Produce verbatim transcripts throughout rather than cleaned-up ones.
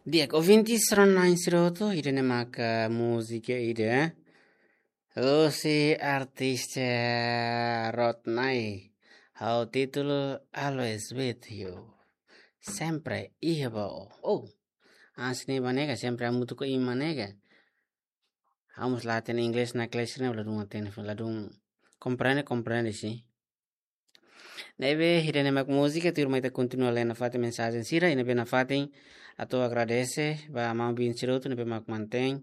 Di'ak, ouvintes rona-na'in sira hotu, ida-ne'e maka múzika ida husi artista Rotnai. Ha'u títulu Always With You. Sempre iha ba ó. Oh, hanesan ne'e ba nega, sempre hamutuk ho imi ba nega. Ha'u mós la hatene inglés, na kles ne'e ladún hatene, ladún komprende, komprende sin. Ne'ebé, ida-ne'e mak múzika, tuirmai ita kontinua lee nafatin mensajen sira, i ne'ebé nafatin atu agradese ba maun-bin sira hotu ne'ebé mak mantein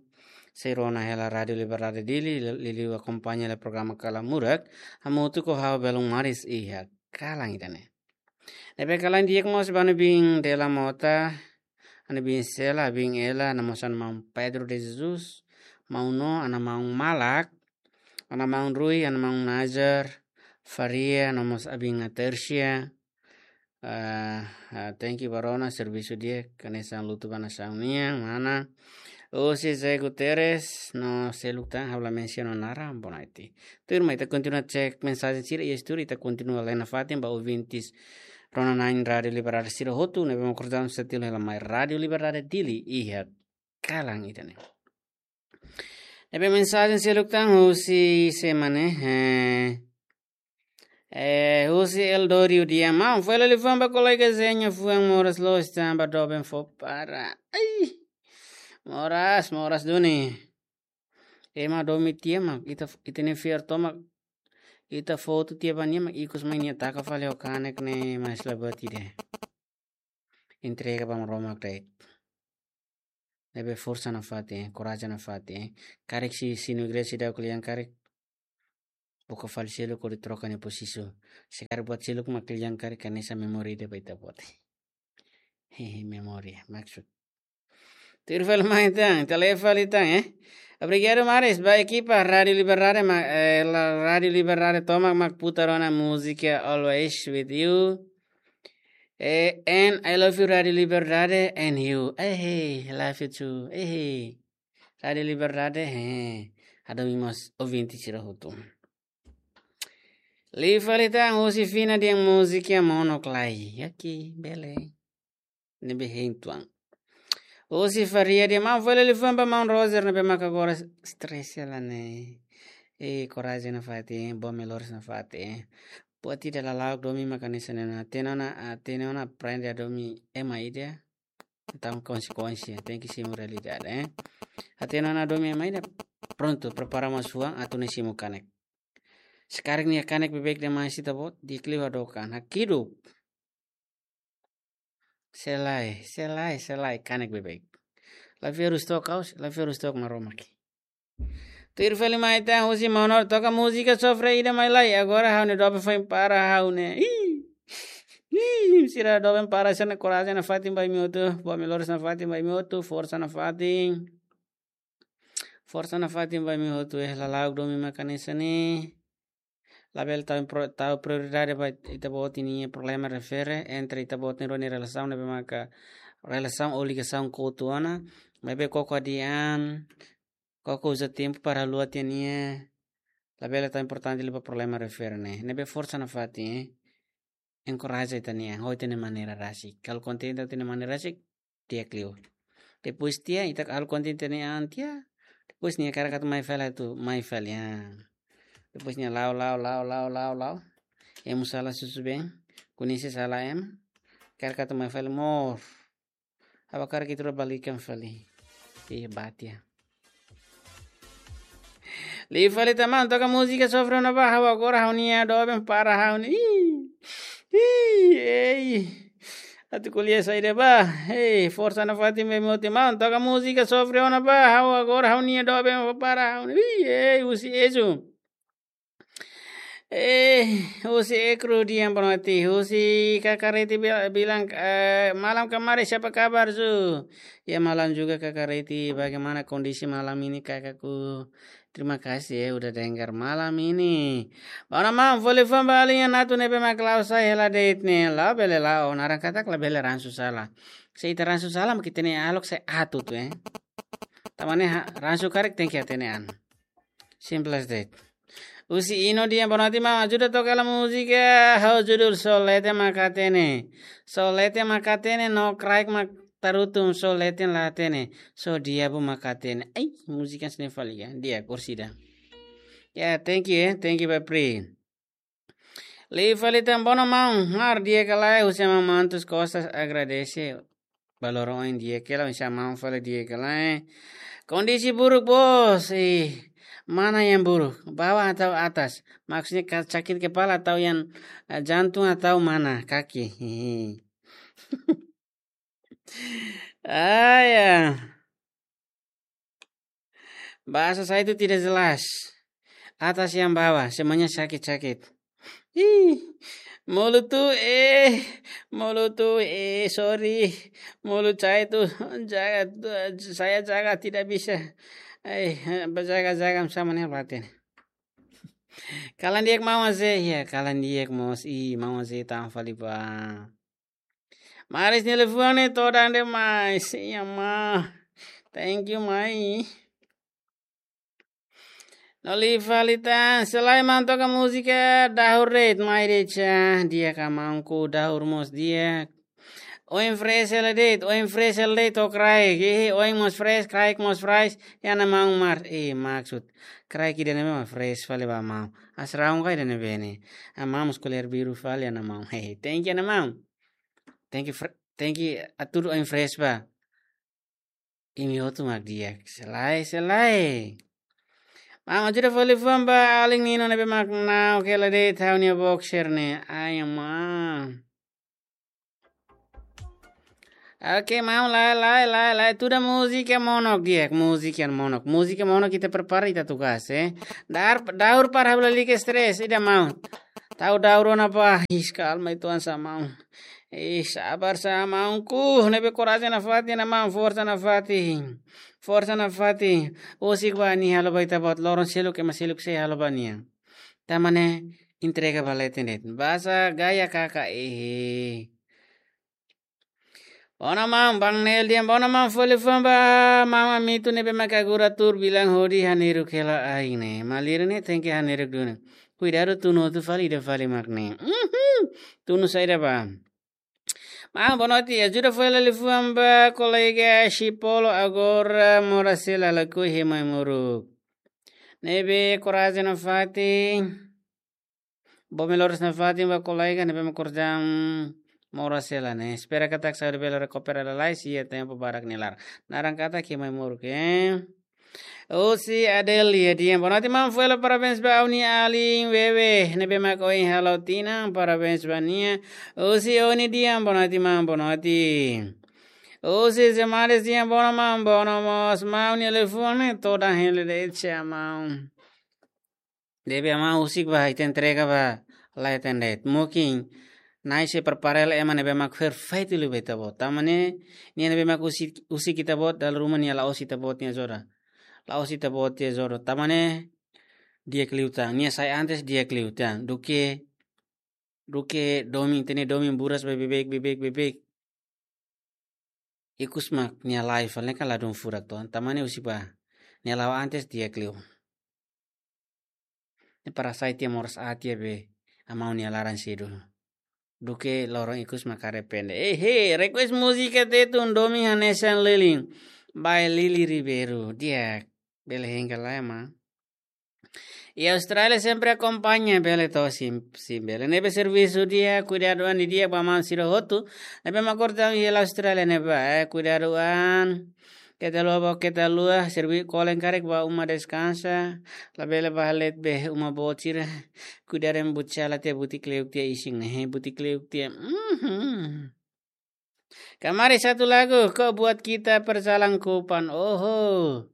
sei rona hela Rádiu Liberdade Dili, li-, liuliu akompaña hela programa Kalan Murak, hamutuk ho ha'u belun maris iha kalan ida-ne'e. Ne'ebé kalan di'ak mós ba ha'u-nia bin Dela Mota, ha'u-nia bin Sela, bin Ela, no mós ha'u-nia maun Pedro de Jesus, maun No, ha'u-nia maun Malak, ha'u-nia maun Rui, ha'u-nia maun Nazar, Faria, no mós ha'u-nia bin Tersia. Ah, ah, thank you ba rona, servisu di'ak, hanesan lutu ba nasaun nian, mana. Husi Zé Guterres, no seluk tan, ha'u la mensiona naran, bonaiti. Tuirmai ita kontinua cek mensajen sira iha estúdiu, ita kontinua lee nafatin ba ouvintes rona-na'in Rádiu Liberdade sira hotu, ne'ebé mak koordenasaun setilu hela mai Rádiu Liberdade Dili iha kalan ida-ne'e. Ne'ebé mensajen seluk tan husi semana, eh, eh, husi Eldorio Diamão, fali liafuan ba kolega Zé nia fuan moras loos tanba doben fó para. Ai, moras, moras duni. Ema domin tiha mak, ita, ita-nia fiar tomak, ita fó tiha ba nia mak, ikus mai nia taka fali ho kanek ne'e, mas la buat ida. Entrega ba Maromak de'it. Ne'ebé forsa nafatin, eh, korajen nafatin, eh. Karik se, se no igreja ida klean karik, buka fali seluk hodi troka nia pozisiun. Se karik buat seluk mak klean karik, hanesan memória ida ba ita-boot. Hehe, memória, maksud. Tuir fali mai tan, ita lee fali tan, eh. Obrigadu maris ba ekipa Rádiu Liberdade, ma, eh, la, Rádiu Liberdade tomak mak putar ona múzika Always With You. Eh, and I love you, Rádiu Liberdade, and you. Eh, hey, I love you too. Eh, hey. Rádiu Liberdade, eh, hadomi mós ouvinte sira hotu. Liu fali tan husi Fina nia múzika Mono Klai. Oke, bele. Ne'ebé hein tuan. Husi Faria nia maun, fali liafuan ba maun Roger ne'ebé maka agora stress hela ne'e. Eh, korajen nafatin, boa melhoras nafatin. Buat ida lala'ok domin mak hanesan ne'e ona, hatene ona, hatene ona aprende hadomi ema ida. Entaun konsekuénsia, tenke simu realidade, eh. Hatene ona hadomi ema ida, prontu, prepara mós fuan, atu nune'e simu kanek. Se karik nia kanek beibeik demais ita-boot, di'ak liu hadook an, hakidu. Selai, selai, selai, kanek beibeik. La fiar husi took ha'u, la fiar husi took Maromak. Tuir fali mai tan husi Maun No, toka múzika sofre ida mai lai. Agora ha'u-nia doben foin para ha'u ne'e. Ih. Ih, sira doben para sira-ne'e, korajen nafatin ba imi hotu. Boa melhoras nafatin ba imi hotu. Forsa nafatin. Forsa nafatin ba imi hotu, eh, lala'ok domin mak hanesan ne'e. Labele tau impro-, tau prioridade ba ita-boot nia problema refere entre ita-boot nia rua nia relasaun ne'ebé maka relasaun ou ligasaun kotu ona. Maibé koko hadi'a an, koko uza tempu para haluha tiha nia. Labele tau importante liu ba problema refere ne'e. Ne'ebé forsa nafatin, eh. Enkoraja ita-nia an, ho ita-nia maneira rasik. Halo kontente ho ita-nia maneira rasik, di'ak liu. Depois tiha, ita halo kontente ita-nia an tiha. Depois nia karik atu mai fali atu, mai fali, ah. Depois nia la'o, la'o, la'o, la'o, la'o, la'o. Ema sala susubeen, koñese sala ema. Karik atu mai fali mós. Ha'u hakarak ita rua balikan fali. Ih, bá tiha. Liu fali tan maun, toka múzika sofre ona bá, ha'u agora ha'u-nia doben para ha'u ne'e. Ih. Ih, ei. Atu ko'alia saida bá. Ei, forsa nafatin ba imi hotu maun, toka múzika sofre ona bá, ha'u agora ha'u-nia doben para ha'u ne'e. Ih, ei, husi Ezu. Eh, husi Ekru Dian Bonoti, husi Kakareti bil-, bilang, eh, malam kemarin siapa kabar, Zu? Ya, malam juga, Kakareti. Bagaimana kondisi malam ini, kakakku? Terima kasih ya, udah dengar malam ini. Bá ona maun, fó liafuan ba alin atu ne'ebé mak la'o sai hela de'it ne'e, la'o bele la'o, naran katak labele ransu sala. Se ita ransu sala, mak ita-nia ahlok sai atu tu, eh. Tanba ne'e ha-, ransu karik tenke hatene an. Simples de'it. Husi Ino Dian Bonoti maun, ajuda toka hela múzika ho judul Solete Maka Hatene. Solete Maka Hatene no kraik mak tarutu só leten la hatene, só diabu mak hatene. Ai, múzika sini fali ya, dia kursida. Ya, thank you, eh, thank you, Bapri. Liu fali tan bono maun, mar di'ak ka lae, husi maun Mantus Costas agradese. Ba loron oin di'ak ka lae, husi maun fali di'ak ka lae. Kondisi buruk, bos. Eh, mana yang buruk? Bawah atau atas? Maksudnya ka-, sakit kepala atau yang, eh, jantung atau mana? Kaki. Ah, ya. Bahasa saya itu tidak jelas. Atas yang bawah, semuanya sakit-sakit. Ih, mulut tuh, eh, mulut tuh, eh, sorry. Mulut saya itu jaga, saya jaga tidak bisa. Eh, berjaga-jaga sama nih, batin. Kalan di'ak maun Aze, ya, kalan di'ak mós, ih, maun Aze tan fali ba. Maris nia liafuan ne'e todan demais. Iya, ma. Thank you, mai. No liu fali tan, selain maun toka múzika dahur de'it, mai de'it sa, di'ak ka maun, ku dahur mós di'ak. Oin fresh hela de'it, oin fresh hela de'it, to'o kraik. Eh, oin mós fresh, kraik mós fresh, iha ona maun mar. Eh, maksud. Kraik ida-ne'ebé mak fresh fali ba maun. Asraun ka ida-ne'ebé ne'e. Ah, maun mós koler biru fali iha ona maun. Hehe, thank you iha ona maun. Thank you, fre-, thank you, atu oin fresh ba. Imi hotu mak di'ak. Selae, selae. Maun ajuda fó liafuan ba alin Nino ne'ebé mak na'ok hela de'it ha'u-nia boxer ne'e. Ai, maun. Oke, maun, lae, lae, lae, lae. Tuda múzika monok di'ak, múzika monok. Múzika monok ita prepara ita tugas, eh. Dar, daur para ha'u lalika stres, ida maun. Tau daur ona ba, ih, kalma itu ansa maun. Ih, sabar sa maunku, ne'ebé korajen nafatin ona maun, forsa nafatin. Forsa nafatin. Husik ba nia halo ba ita-boot, loron seluk ema seluk sei halo ba nia. Tan ne'e entrega ba leten de'it. Basa gaya kaka, ehe. Bono maun, Bang Nel dehan bono maun, fó liafuan ba maun Amitu ne'ebé mak agora tuur bilang hodi haneiruk hela ain ne'e. Malirin ne'e tenke haneiruk duni. Kuidadu tunu hotu fali ida fali mak ne'e. Mhm. Tunu saida ba. Maun, boa noite. Ajuda fó hela liafuan ba kolega Chipolo agora moras hela lakohi Maimoruk. Ne'ebé korajen nafatin. Bomi loron nafatin ba kolega ne'ebé mak korajen moras hela ne'e. Espera katak saúde bele rekupera lalais iha tempu badak nia laran. Naran katak iha Maimoruk, eh. Husi Adelia dehan, boa noite maun, fó hela parabéns ba ha'u-nia alin Wewe ne'ebé mak ohin halo tinan, parabéns ba nia. Husi Oni dehan, boa noite maun, boa noite. Husi Zemares dehan, bono maun, bono mós maun, nia liafuan ne'e todan hela de'it sa maun. Ne'ebé maun husik ba, ita entrega ba leten de'it. Mungkin Na'i sei prepara hela ema ne'ebé mak perfeitu liu ba ita-boot. Tan ne'e, nia ne'ebé mak husik, husik ita-boot, dala ruma nia la'ós ita-boot nia jodoh. La'ós ita-boot nia jodoh. Tan ne'e, di'ak liután. Nia sai antes di'ak liután. Duké, duké domin, ita-nia domin buras ba beibeik, beibeik, beibeik. Ikus mak nia la'o fali ne'e kan ladún furak to. Tan ne'e husik ba. Nia la'o antes di'ak liu. Ne'e para sai tiha moras aat iha be. Maun nia laran sedu. Duké loron ikus mak arrepende. Eh, he, request múzika Tetun domin hanesan lilin. By Lily Ribeiro. Di'ak. Bele hengka lai, maun. Iha Austrália sempre akompaña, bele to sim, sim bele. Ne'ebé servisu di'ak, kuidadu an di'ak ba maun sira hotu. Ne'ebé mak korajen iha Austrália ne'e ba, eh, kuidadu an. Keta haluha ba, keta haluha, servi kolen karik ba uma deskansa. Labele ba halet be uma boot sira. Kuidadu an buti sala tiha buti kleuk tiha isin ne'e, buti kleuk tiha. Mhm. Kamari satu lagu, kau buat kita berjalan ke depan. Oho.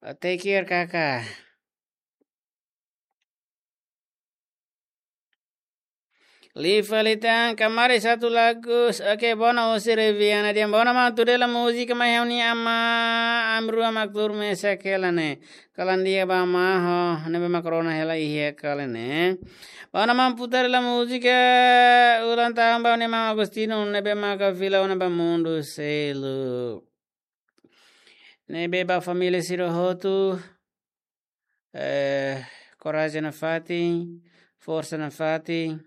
Take care, kakak. Liu fali tan, kamari satu lagu. Oke, bono husi Reviana dehan bono maun tuur hela múzika mai ha'u-nia amá, ami rua mak tuur mesak hela ne'e. Kalan di'ak ba amá ho, ne'ebé mak rona hela iha kalan ne'e. Bono maun putar hela múzika ulang tahun ba ha'u-nia maun Agostinho, ne'ebé maka fila ona ba mundu seluk. Ne'ebé ba família sira hotu, eh, korajen nafatin, forsa nafatin.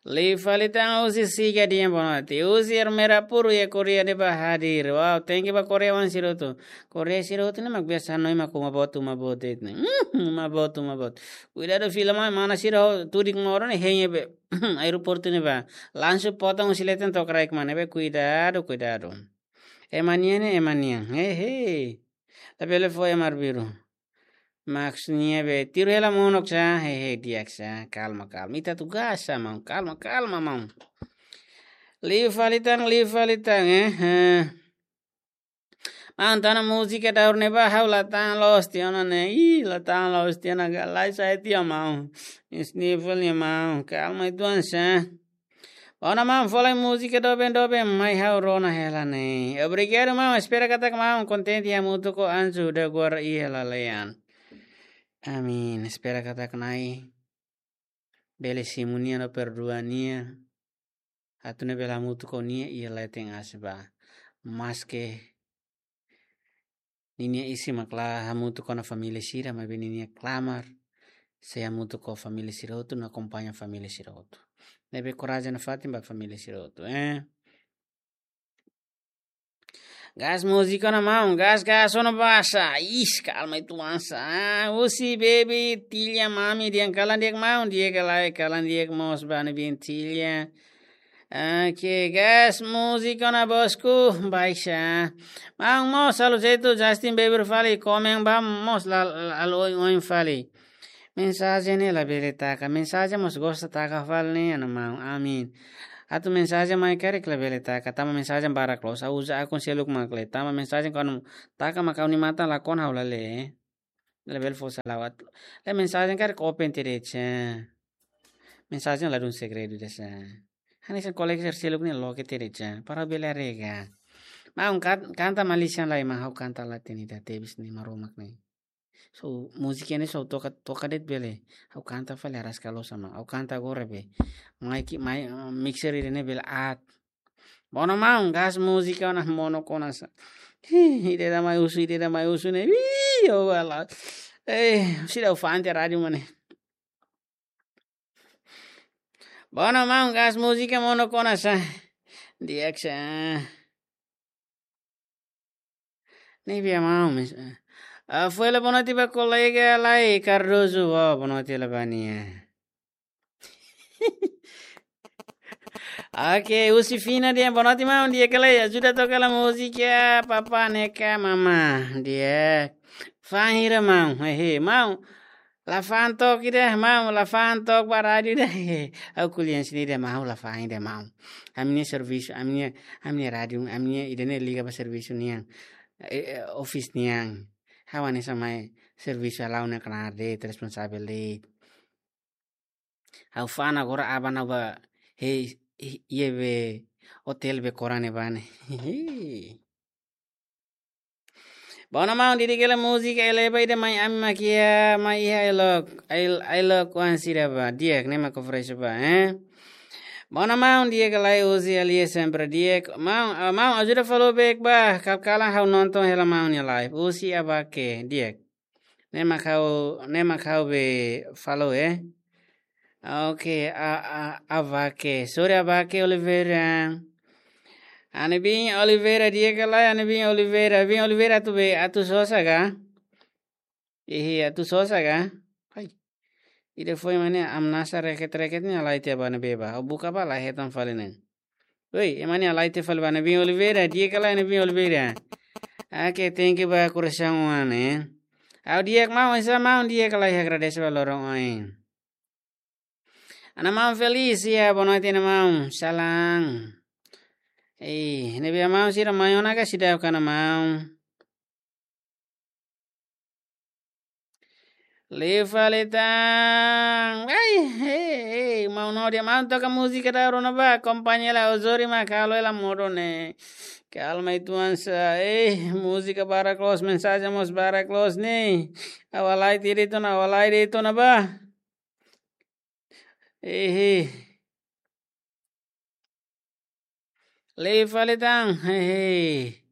Liu fali tan, husi Siga dehan bonoite. Husi Ermera Puru iha Korea ne'ebá hadir. Wow, thank you ba Korea oan sira hotu. Korea sira hotu ne'e mak biasa hanoin mak uma boot, uma boot de'it ne'e. Hmm, uma boot, uma boot. Kuidadu fila mai, mana sira ho tudik modo ne'e hein iha be aeroportu ne'ebá. Langsung potong husi leten to'o kraik mai ne'ebé, kuidadu, kuidadu. Ema nian ne'e, ema nian. Hehe. Labele fó ema arbiru. Maksudnya be, tiru hela monok sa, hehe, di'ak sa, kalma, kalma. Ita tugas sa, maun, kalma, kalma, maun. Liu fali tan, liu fali tan, eh, eh. Maun, tana múzika daur ne'ebá, ha'u la tan loos tiha ona ne'e, ih, la tan loos tiha ona, galai sai tiha, maun. Sniffle nia, maun, kalma uitoan sa. Ona maun, folin múzika doben-doben mai ha'u rona hela ne'e. Obrigadu maun, espera katak maun kontente hamutuk ho Anju da Guarda iha lalehan. Amin, espera katak Na'i bele simu nia no perdua nia. Atu nune'e bele hamutuk ho nia iha leten aas ba. Maske ninia isin mak la hamutuk ona família sira, maibé ninia klamar sei hamutuk ho família sira hotu, no akompaña família sira hotu. Ne'ebé korajen nafatin ba família sira hotu, eh. Gas múzika ona maun, gas, gas ona basa. Ih, kalma uitoan sa. Ah, husi baby, Tilia, mami, dehan kalan di'ak maun, di'ak ka lae, kalan di'ak mós ba ne'ebé Tilia. Oke, gas múzika ona bosku, baixa. Maun mós halo jeitu Justin Bieber fali, komen ba mós la, la, la oin oin fali. Mensajen ne'e labele taka, mensajen mós gosta taka fali ne'e, ana maun, amin. Atu mensajen mai karik labele taka, tanba mensajen barak loos, ha'u uza akun seluk mak lee, tanba mensajen kuandu taka mak ha'u-nia matan lakon ha'u la lee. Labele fó salawat. Lee mensajen karik open tiha de'it sa. Mensajen ladún segredu ida sa. Hanesan kolega sira seluk ne'e loke tiha de'it sa. Para bele haree ka. Maun kan-, kanta Malaysia lai mak ha'u kanta la hatene ida tebes ne'e Maromak ne'e. So, múzika ne'e so toka, toka de'it bele. Ha'u kanta fali araska loos sa maun. Ha'u kanta agora be. Mai ki, mai, eh, mixer ida ne'e bele aat. Bona maun, gas múzika ona monok ona sa. Ih, ida-idak mai husu, ida-idak mai husu ne'e. Ih, oh, alah. Eh, seidauk fa'an tiha rádiu mak ne'e. Bona maun, gas múzika monok ona sa. Di'ak sa. Ne'ebé maun, mes-, ah, foin la bonoite ba kolega Lai Cardoso, oh, bonoite la ba nia. Oke, husi Fina dehan bonoite maun, di'ak ka lae, ajuda toka hela múzika, papá, neka, mamá, di'ak. Fa'an hira maun, hehe, maun. La fa'an took ida, maun, la fa'an took ba rádiu ida. Ha'u ko'alia hanesan ne'e ida maun, ha'u la fa'an ida maun. Ami-nia servisu, ami-nia, ami-nia rádiu, ami-nia ida ne'e liga ba servisu nian. Eh, eh, office nian. Ha'u hanesan mai servisu halo ne'e knaar de'it, responsavel de'it. Ha'u fa'an agora aban ha'u ba, hei, hei, iha be, hotel be koran ne'ebá ne'e. Bona maun, didik hela múzika eleba ida mai ami mak iha, mai iha Ailok, Ail-, Ailok oan sira ba. Di'ak, ne'e mak fresh ba, eh? Bona maun, di'ak ka lae, husi Alia sempre di'ak. Maun, ah, maun, ajuda follow back ba. Kal-, kalan ha'u nonton hela maun nia live. Husi Abake, di'ak. Ne'e mak ha'u, ne'e mak ha'u be follow, eh? Oke, a, a, Abake. Sorry, Abake Oliveira. Anebin Oliveira, di'ak ka lae, Anebin Oliveira. Bin Oliveira atu be, atu sosa ka? Ihi, atu sosa ka? Hai. Ida foin mak ne'e, ameasa reket-reket ne'e halai tiha ba ne'ebé ba. Ha'u buka ba la hetan fali ne'e. Oi, ema ne'e halai tiha fali ba Anebin Oliveira, di'ak ka lae Anebin Oliveira. Oke, thank you ba korasaun oan, eh. Ha'u di'ak maun, hanesan maun di'ak ka lae, agradese ba loron oin. Ana maun Felisia, boa noite, ana maun. Salam. Eh, ne'ebé maun sira mai ona ka seidauk, ana maun? Liu fali tan. Ai, ei, ei, maun, no dia maun toka múzika daur ona ba, akompaña hela, Ozori mak halo hela modo ne'e. Kalma uitoan sa, eh, múzika barak loos, mensajen mós barak loos ne'e. Ha'u halai tiha de'it ona, ha'u halai de'it ona ba. Ehe. Liu fali tan. Hehe.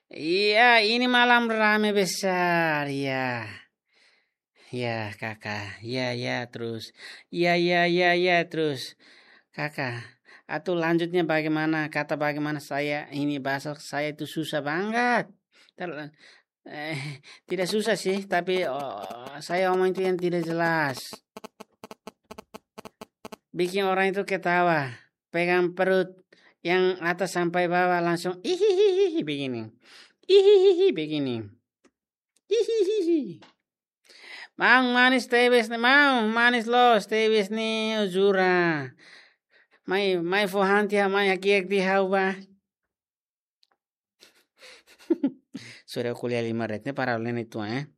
Iya, ini malam rame besar, ya. Ya, kakak. Ya, ya, terus. Ya, ya, ya, ya, terus. Kaka, atu lanjutnya bagaimana? Kata bagaimana saya ini bahasa saya itu susah banget. Ter-, eh, tidak susah sih, tapi, oh, saya omong itu yang tidak jelas. Bikin orang itu ketawa, pegang perut yang atas sampai bawah langsung ihihihi begini. Ihihihi begini. Ihihihi. Maun manis tebes ne'e, maun manis loos tebes ne'e, jura. Mai, mai fó han tiha, mai hakiak tiha ha'u ba. Sudah kuliah lima ret ne'e para lene tu, eh.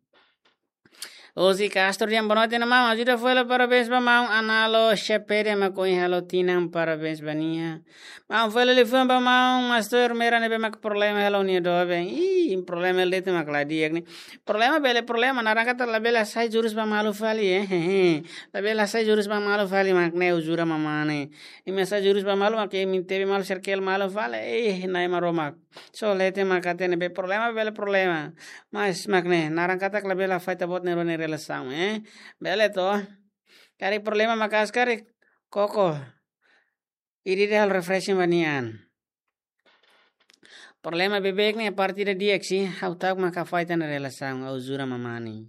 Osi Castro dian bonote na maun, ajuda foila parabéns ba maun Analo Shepede mak ohin halo tinan, parabéns ba nia. Maun foila liafuan ba maun Mastur Mera ne'ebé mak problema hela nia doben. Ih, problema hela de'it mak la di'ak ne'e. Problema bele problema, naran katak labele hasai jurus ba malu fali, eh. Labele hasai jurus ba malu fali mak ne'e, ha'u jura mamá ne'e. Imi hasai jurus ba malu mak imi tebe malu serkel malu fali. Eh, Na'i Maromak. Só leten mak hatene be problema bele problema. Mas mak ne'e, naran katak labele hafaita buat ne'e rona relasaun, eh. Bele to. Karik problema maka'as karik koko. Ida-idak halo refreshing ba nia an. Problema beibeik ne'e parte ida di'ak sih, ha'u ta'uk mak hafaita ona relasaun, ha'u jura mamá ne'e.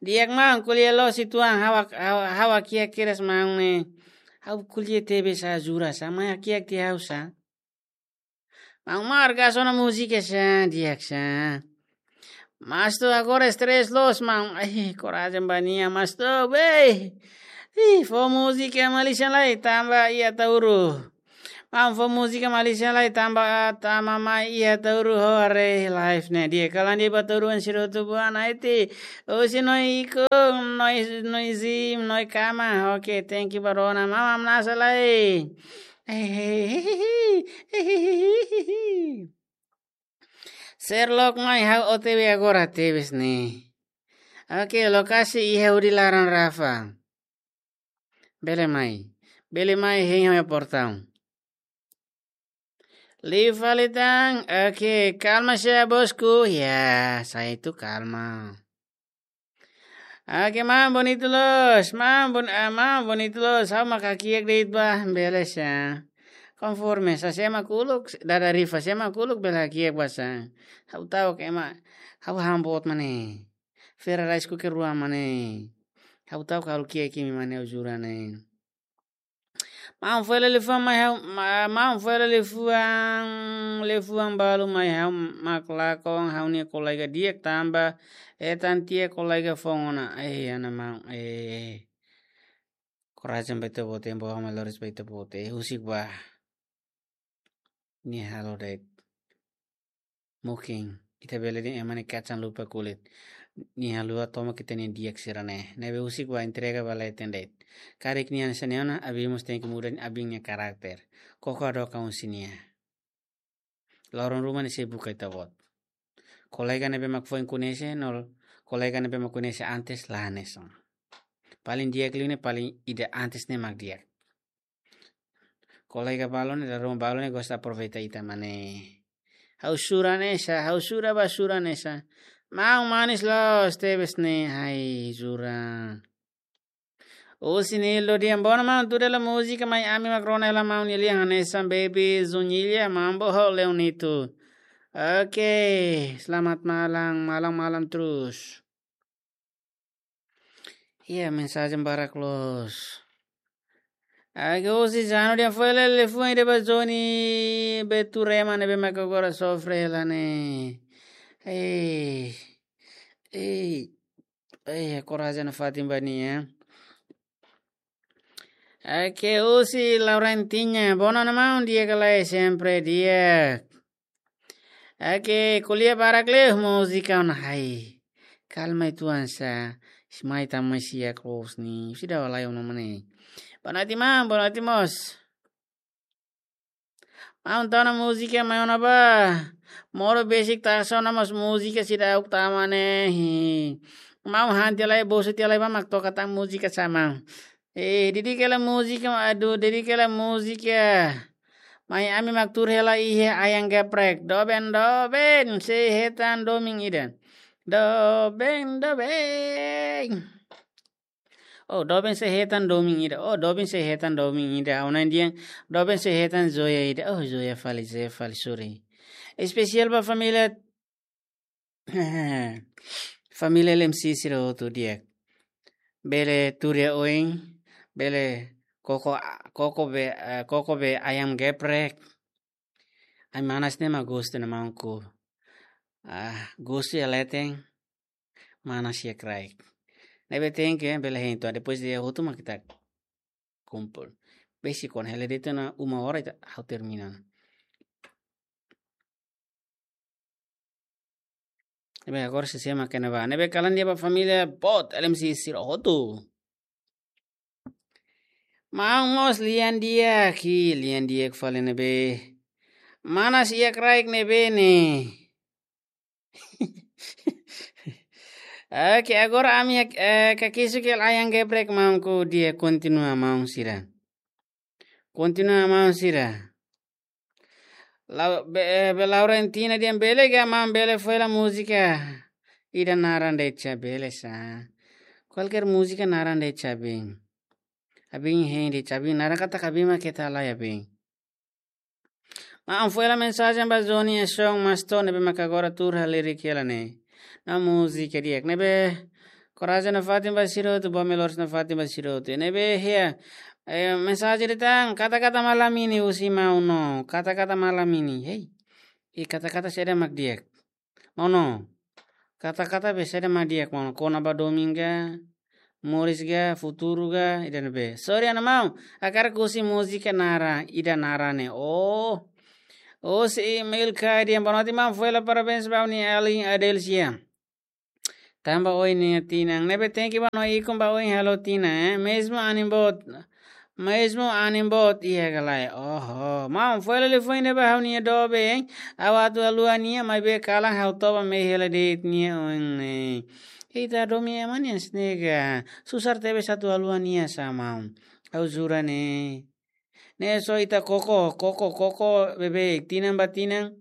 Di'ak maun, ko'alia loos uitoan, ha'u hak-, ha'u, ha'u hakiak kedas maun ne'e. Ha'u ko'alia tebes sá, jura sá, mai hakiak tiha ha'u sá. Maun Margas, ona múzika sá, di'ak sá. Mastu, agora estrés loos, maun. Ai, korajen ba nia, Mastu, be. Ih, fó múzika Malaysia lai, tanba iha Ataúru. Maun, fó múzika Malaysia lai, tanba, tama mai iha Ataúru ho haree live ne'e. Di'ak, kalan di'ak ba Ataúru, an sirotu buana iti. Osi noi iku, noi, noi zim, noi kama. Oke, thank you ba rona. Maun, hamnasa lai. Sherlock mai ha'u O T W agora tebes ne'e. Oke, lokasi iha hudi laran Rafa. Bele mai. Bele mai hein ha'u-nia portaun. Liu fali tan. Oke, kalma sá bosku. Ya, saya itu kalma. Oke, maun bonitu loos, maun bon-, ah, maun bonitu loos, ha'u mak hakiak de'it ba, bele sá. Konforme sá, sé mak uluk, dada Rifa, sé mak uluk bele hakiak ba sá. Ha'u ta'uk ema, ha'u han boot mak ne'e. Fera rais kuke rua mak ne'e. Ha'u ta'uk halo kiak imi mak ne'e, ha'u jura ne'e. Maun foila liafuan mai ha'u, ma-, maun foila liafuan, liafuan balu mai ha'u mak lakon ha'u-nia kolega di'ak tanba hetan tiha kolega foun ona. Eh, ana maun, eh. Korajen ba ita-boot, ema boot mai loris ba ita-boot, eh, husik ba. Nia halo de'it. Mungkin ita bele dehan ema ne'e kacang lupa kulit. Nia haluha tomak ita-nia di'ak sira-ne'e. Ne'ebé husik ba entrega ba leten de'it. Karik nia hanesan ne'e ona, abin mós tenke muda abin nia karakter. Koko hadook an husi nia. Loron ruma ne'e sei buka ita-boot. Kolega ne'ebé mak foin koñese, no kolega ne'ebé mak koñese antes la hanesan. Paling di'ak liu ne'e paling ida antes ne'e mak di'ak. Kolega balu ne'e, dala ruma balu ne'e gosta aproveita ita mak ne'e. Ha'u jura hanesan, ha'u jura ba jura hanesan. Maun manis loos tebes ne'e, hai jura. Husi Nildo di'ak, boa ona maun, tuda hela múzika mai ami mak rona hela maun, nia lian hanesan Baby Zunilha, Mambo ho Leonito. Oke, selamat malam, malam-malam terus. Iya, mensajen barak loos. Oke, husi Jano di'ak, foila liafuan ida ba Joni Beturema ne'ebé mak agora sofre hela ne'e. Eh, eh, eh, korajen nafatin ba nia. Oke, husi Laurentina, boa ona maun, di'ak ka lae, sempre di'ak. Oke, ko'alia barak liu, múzika ona, hai. Kalma uitoan sá, mai tama mai siak loos ne'e, sida walai ona mak ne'e. Boa noite maun, boa noite mós. Maun, tau ona múzika mai ona ba. Moro besik taxa ona mós múzika seidauk tama ne'e. Maun han tiha lai, bosu tiha lai ba mak toka tan múzika sá maun. Eh, dedika hela múzika, aduh, dedika hela múzika. Mai ami mak tuur hela iha Ayam Geprek. Doben, doben, sei hetan domin ida. Doben, doben. Oh, doben sei hetan domin ida. Oh, doben sei hetan domin ida. Ha'u-nia dehan, doben sei hetan joia ida. Oh, joia fali, joia fali, sorry. Espesiál ba família, família L M C sira hotu di'ak. Bele tuur iha oin, bele koko, koko be, eh, koko be ayam geprek. Ai manas ne'e mak gostu ona maun ku. Ah, gostu iha leten, manas iha kraik. Ne'ebé tenke, bele hein to'o, depois de hotu mak ita kumpul. Besik ona, hela de'it ona uma hora ita ha'u termina. Ne'ebé agora sé-sé mak kena ba. Ne'ebé kalan di'ak ba família boot, L M C sira hotu. Maun mós lian di'ak, ki lian di'ak fali ne'ebé. Manas iha kraik ne'ebé ne'e. Oke, agora ami, eh, kakisuk hela ayam geprek maun ku di'ak, kontinua maun sira. Kontinua maun sira. La, be, eh, be Laurentina dehan bele ga maun bele fó hela múzika ida naran de'it sá, bele sá. Kualkér múzika naran de'it sá, bem. Abin hein de'it sá, bem, naran katak abin mak keta lai, bem. Maun fó hela mensajen ba Johnny Esong Maston ne'ebé maka agora tuur halerik hela ne'e. Nia múzika di'ak ne'ebé. Korajen nafatin ba sira hotu, boot loos nafatin ba sira hotu. Ne'ebé hea, eh, mensajen de'it tan, kata-kata malam ini husi maun no. Kata-kata malam ini. Hei. I kata-kata saida mak di'ak. Maun no. Kata-kata be saida mak di'ak maun no. Kona-ba domin ka, moris ka, futuru ka, ida ne'ebé. Sorry ona maun. Hakarak husi múzika naran, ida naran ne'e. Oh. Oh, si email ka dehan boa noite maun, fó hela parabéns ba ha'u-nia alin Adelsia. Tanba oin nia tinan. Ne'ebé tenke ba no ikun ba oin halo tinan, eh. Mezmu anin boot. Mezmu anin boot iha ka lae. Oho. Maun fó hela liafuan ida ba ha'u-nia doben, hein. Ha'u atu haluha nia maibé kalan ha'u toba mehi hela de'it nia oin ne'e. Ita domin ema nia snega. Susar tebes atu haluha nia sá maun. Ha'u jura ne'e. Ne'e só ita koko, koko, koko, beibeik, tinan ba tinan,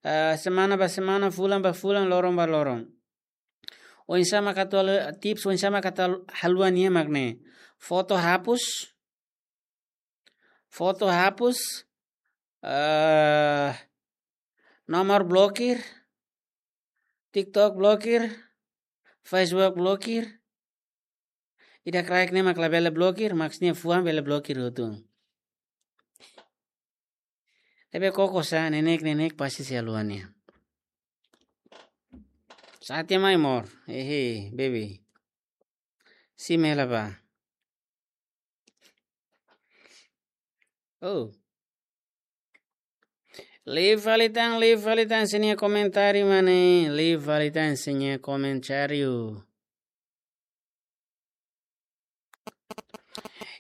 ah, semana ba semana, fulan ba fulan, loron ba loron. Oinsá mak atu hal-, tips oinsá mak atu hal-, haluha nia mak ne'e. Foto hapus, foto hapus, eh, nomor blokir, TikTok blokir, Facebook blokir. Ida kraik ne'e mak labele blokir, maksudnya fuan bele blokir hotu. Ne'ebé koko sá, neineik, neineik pasti sei haluha nia. Satia mai mor, ehe, baby. Simu hela bá. Oh. Liu fali tan, liu fali tan, sira-nia komentáriu mane, liu fali tan, sira-nia komentáriu.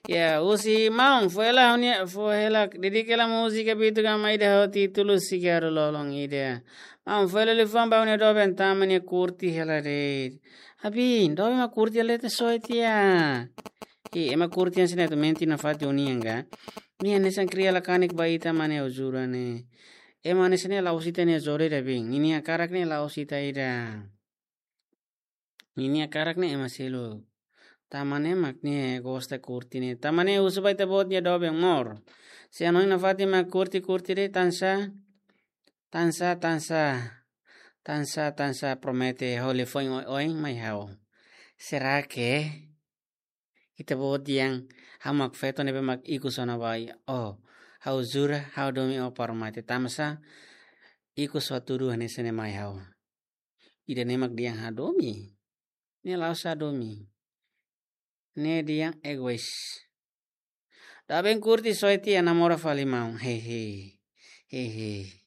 Ya, husi maun, fó hela ha'u-nia, fó hela, dedika hela múzika Bitu Gama ida ho títulu Sigaru Lolon ida. Maun, fó hela liafuan ba ha'u-nia doben tanba nia kurti hela de'it. Abin, doben mak kurti hela de'it só tiha. I, ema kurti hanesan ne'e atu menti nafatin ho nia ka. Nia hanesan kria la kanek ba ita mane, ha'u jura ne'e. Ema hanesan ne'e la'ós ita-nia zore ida, bem. Ninia hakarak ne'e la'ós ita ida. Ninia hakarak ne'e ema seluk. Tanba ne'e mak nia gosta kurti ne'e. Tanba ne'e husu ba ita-boot nia doben mor. Se hanoin nafatin mak kurti, kurti de'it tansá. Tansá, tansá. Tansá, tansá promete ho liafuan oioin mai ha'u. Será que ita-boot dehan ha'u mak feto ne'ebé mak ikus ona ba oin? Oh, ha'u jura, ha'u domin ó para mate. Tanba sá, ikus ó tudu hanesan ne'e mai ha'u. Ida-ne'e mak dehan hadomi. Ne'e la'ós hadomi. Ne'e dehan egois. Doben kurti só tiha, namora fali maun. Hehe. Hehe.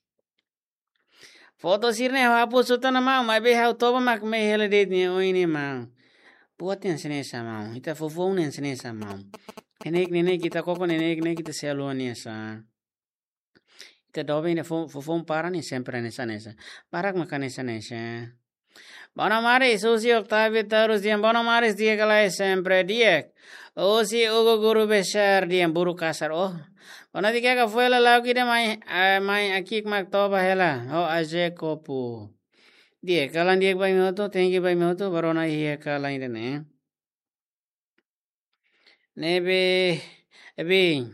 Foto sira-ne'e ha'u hapus hotu ona maun, maibé ha'u toba mak mehi hela de'it nia oin ne'e maun. Buat hanesan ne'e sá maun. Ita foufoun hanesan ne'e sá maun. Neineik, neineik ita koko, neineik, neineik ita sei haluha nia sá. Ita doben ida fo-, foufoun para ne'e sempre hanesan ne'e sá. Barak mak hanesan ne'e sá. Bono maris, husi Octavio Taurus dehan bono maris, di'ak ka lae, sempre di'ak. Husi Hugo Guru Besar dehan buru kasar. Oh. Bono di'ak ka, fó hela lauk ida mai, eh, mai akik mak toba hela. Ho aje kopu. Di'ak, kalan di'ak ba imi hotu, thank you ba imi hotu, ba rona iha kalan ida-ne'e. Ne'ebé, ebe.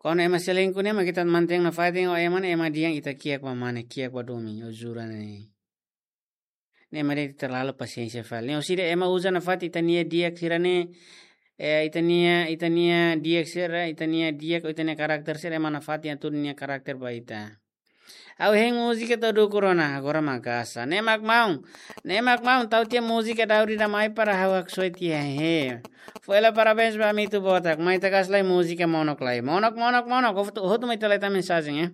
Kuandu ema selingkuh ne'e mak ita mantein nafatin ho ema ne'e, ema dehan ita kiak ba mane, kiak ba domin, o jura ne'e. Ne'e mak dehan ita terlalu pasiénsia fali. Ne'e orsida ema uza nafatin ita-nia di'ak sira ne'e, eh, ita-nia, ita-nia di'ak sira, ita-nia di'ak, ita-nia karakter sira, ema nafatin atu nia karakter ba ita. Ha'u hein múzika tau dukur ona, agora maka'as. Ne'e mak maun, ne'e mak maun, tau tiha múzika daudaun ida mai para ha'u haksoit tiha he. Foila parabéns ba Amito Botak, mai ita kaas lai múzika monok lai. Monok, monok, monok, hotu, hotu mai ita lai tau mensajen, eh.